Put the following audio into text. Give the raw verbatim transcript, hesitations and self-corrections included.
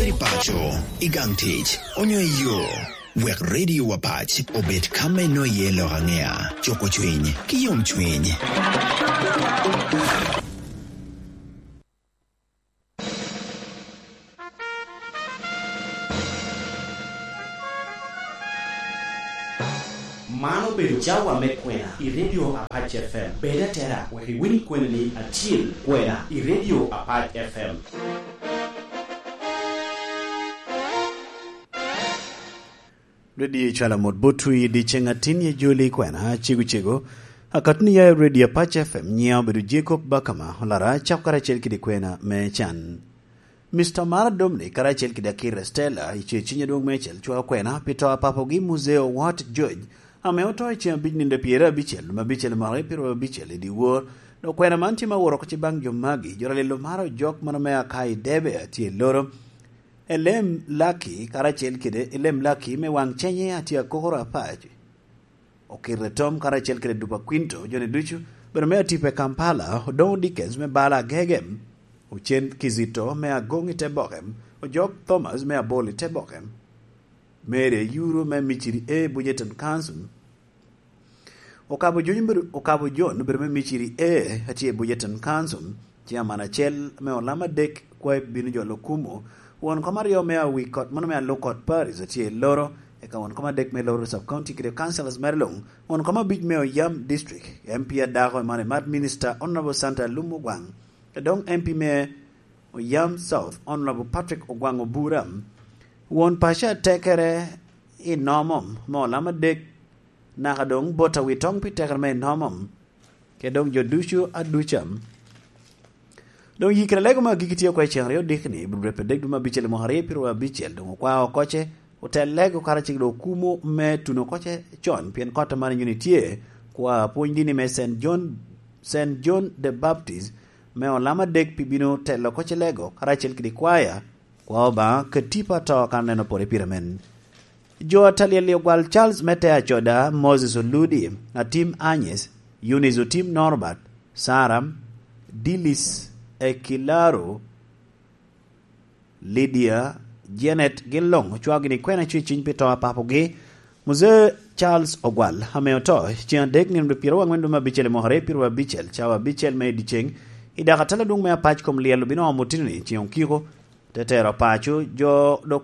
I paco, i gang tic, onyo i yo, wek Radio Apac obed ka me noye lok angea, cuko cwiny, ki yom cwiny. Man obedo cawa me kwena i Radio Apac F M. Bed atera wek iwiny kweni ni acil kwena i Radio Apac F M. Redio icwalo mot botwu i dyeceŋ atin i joli kwena cego cego. Akatni ya i Redio Apac F M, nyiŋa obedo Jacob Bakama, olara cako karacel kede kwena me can. Mister Mara Dominic karacel kede Akira Stella i ce ciny adwoŋ me cel cwao kwena pi to a papogi Muzeo Wat George, ame oto i ceŋ abic nino pyerabicel, luŋ abicel mwaka pyerabicel i dyewor. Dok kwena man tye ma woro oko ci baŋ jo magi, jo ralelo maro jok mano me aka i Debe a tye i Loro. Elem Laki karacel kede Elem Laki me waŋ cenye a tye akokoro apac. Okirre Tom karacel kede Dupa Quinto, joni ducu, bedo me atipa i Kampala, Odoŋo Dickens me bala agege, Ocen Kizito me Agoŋ i te boke, Ojok Thomas me Abol i te boke, Mary Ayuru me Miciri A, Bujeton Council, Okabo Jon obedo, Okabo Jon obedo me Miciri A, atye i Bujeton Council, Chairman acel me olam adek kwae bino jolo kumo, won kom aryo me Awikot, mano me Alukot Paris atye i Loro, eka won kom adek me Loro Sub County kede councillors mere luŋ, won kom abic me Oyam District, M P adako Emmanuel Mad Minister Honorable Santa Lum Ogwaŋ, Doŋ M P me Oyam South, Honorable Patrick Ogwaŋ Obura, won paco atekere i Nomom me olam adek, naka doŋ bot awitoŋ pi tekere me i Nomom, kede doŋ jo ducu aduca. Doŋ yikere lego me agikki tye oko i ceŋ aryo dikni, Ebreru dwe dek dwe me abicel i mwaka aryo pyeraryo abicel, doŋ okwao oko ce, ote lego karacel kede okumo me tuno oko ce con, pien kot man inyuno tye, kwa pwony dini me Saint John, Saint John the Baptist, me olam adek pi bino telo oko ce lego, karacel kede kwaya, kwa Obaŋa, katipa to kan neno pore pire men. Jo a talyel i ogwal Charles me te acoda, Moses Oludi, Atim Anyes, Eunice Otim Norbert, Sara, Dilis Ekilaro, Lydia, Janet, gin luŋ ocwao gini kwena cweciny pi to a papogi, Muzee Charles Ogwal, ame oto, ceŋ adek nino dwe pyeraryo aŋwen dwe me abicel i mwaka aryo pyeraryo abicel, cawa abicel me i dyeceŋ, i dako atala adwoŋ me apac kom lyel obino omo otino-ni ceŋ okiko, te tero paco jo dok